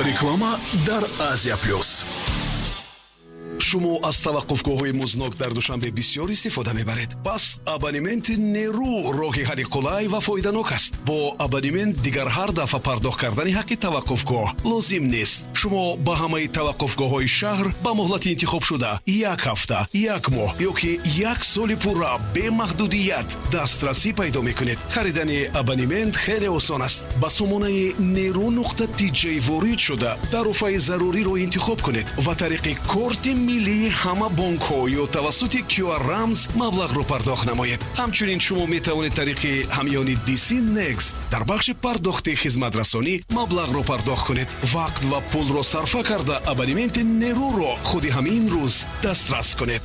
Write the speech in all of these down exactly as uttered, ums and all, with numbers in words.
Реклама дар Азия Плюс. Шумо аз таваққуфгоҳҳои музнок дар Душанбе бисёр истифода мебаред. Пас абонементи Нерӯ роҳи ҳалли қулай ва фоиданок аст. Бо абонемент дигар ҳар дафъа пардохт кардани ҳаққи таваққуфгоҳ лозим нест. Шумо ба ҳамаи таваққуфгоҳҳои шаҳр ба муҳлати интихобшуда як ҳафта, як моҳ ё ки як соли пурра бемаҳдудият дастрасӣ пайдо мекунед. Харидани абонемент хеле осон аст. Ба сомонаи нерӯ нуқта тиҷ ворид шуда тарофаи заруриро интихоб кунед ва тариқи корти миллии ҳама бонкҳо ё тавассути Q R рамз маблағро пардохт намоед. Ҳамчунин шумо метавонед тариқи ҳамёни D C Next дар бахши пардохти хизматрасонӣ маблағро пардохт кунед. Вақт ва пулро сарфа карда абонементи Нерӯро худи ҳамин рӯз дастрас кунед.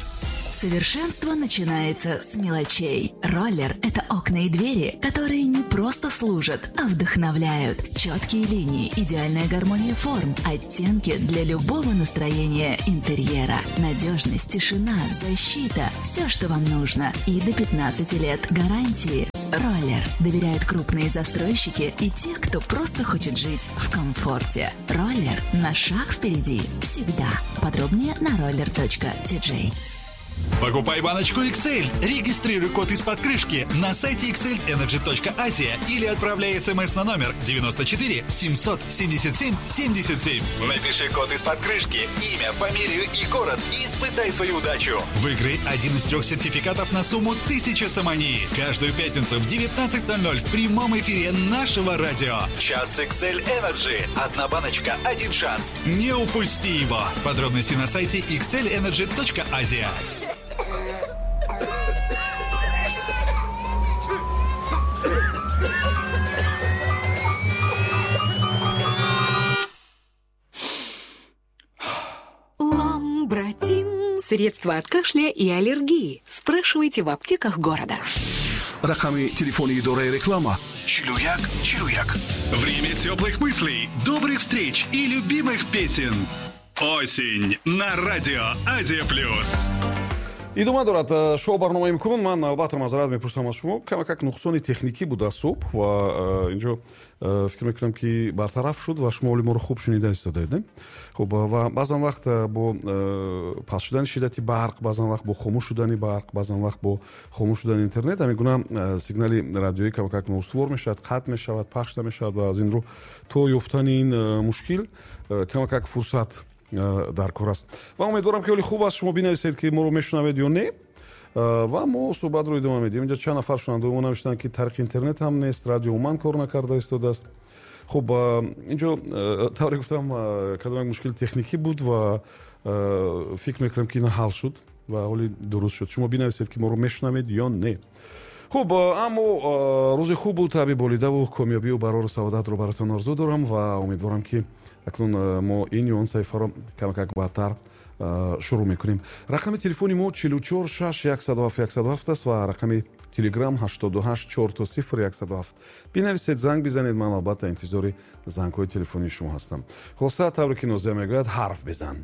Совершенство начинается с мелочей. Роллер – это окна и двери, которые не просто служат, а вдохновляют. Четкие линии, идеальная гармония форм, оттенки для любого настроения интерьера. Надежность, тишина, защита – все, что вам нужно. И до пятнадцати лет гарантии. Роллер доверяют крупные застройщики и те, кто просто хочет жить в комфорте. Роллер на шаг впереди всегда. Подробнее на роллер точка ти джей. Покупай баночку икс эль, регистрируй код из-под крышки на сайте икс эль энерджи точка азия или отправляй смс на номер девяносто четыре семьсот семьдесят семь семьдесят семь. Напиши код из-под крышки, имя, фамилию и город и испытай свою удачу. Выиграй один из трех сертификатов на сумму тысяча сомони. Каждую пятницу в девятнадцать ноль ноль в прямом эфире нашего радио. Час икс эль Energy. Одна баночка, один шанс. Не упусти его. Подробности на сайте икс эль энерджи точка азия. Ламбратин. Средства от кашля и аллергии. Спрашивайте в аптеках города. Рақами телефони идораи реклама чилу як чилу як. Время теплых мыслей, добрых встреч и любимых песен. Осень на радио Азия Плюс. Идома дорад шоу барномаи имкон. Ман албатта маъзарат мепурсам аз шумо, камакак нуқсони техникӣ буда субҳ ва инҷо фикр мекунам ки бартараф шуд ва шумо оли моро хуб шунида истодаед, не? Хуб, ва баъзан вақт бо паст шудани шиддати барқ, баъзан вақт бо хомӯш шудани барқ, баъзан вақт бо хомӯш шудани интернет ҳамин гуна сигнали радиоӣ камакак ноустувор мешавад, қатъ мешавад, пахш намешавад ва аз ин рӯ то ёфтани ин мушкил камакак фурсат дар кор аст. Ва умедворам ки ҳоли хуб аст. Шумо бинависед ки моро мешунавед ё не, ва мо суҳбатро идома медиҳем. Инҷа чанд нафар шунавандаҳои мо навиштанд ки тариқи интернет ҳам нест, радио умуман кор накарда истодааст. Хуб, инҷо тавре гуфтам, кадом як мушкили техникӣ буд ва фикр мекунам ки ин ҳал шуд ва ҳоли дуруст шуд. Шумо бинависед ки моро мешунавед ё не. Хуб, аммо рӯзи хубу таби болидаву комёбию барору саодатро баротон орзу дорам ва умедворам ки акнун мо ин ё он саҳифаро камакак баъдтар шурӯъ мекунем. Рақами телефони мо чилу чор шаш яксаду ҳафт яксаду ҳафт аст ва рақами телеграм ҳаштоду ҳашт чор то сифр яксаду ҳафт. Бинависед, занг бизанед, ман албатта интизори зангҳои телефонии шумо ҳастам. Хулоса, тавре ки Нозия мегӯяд, ҳарф бизан.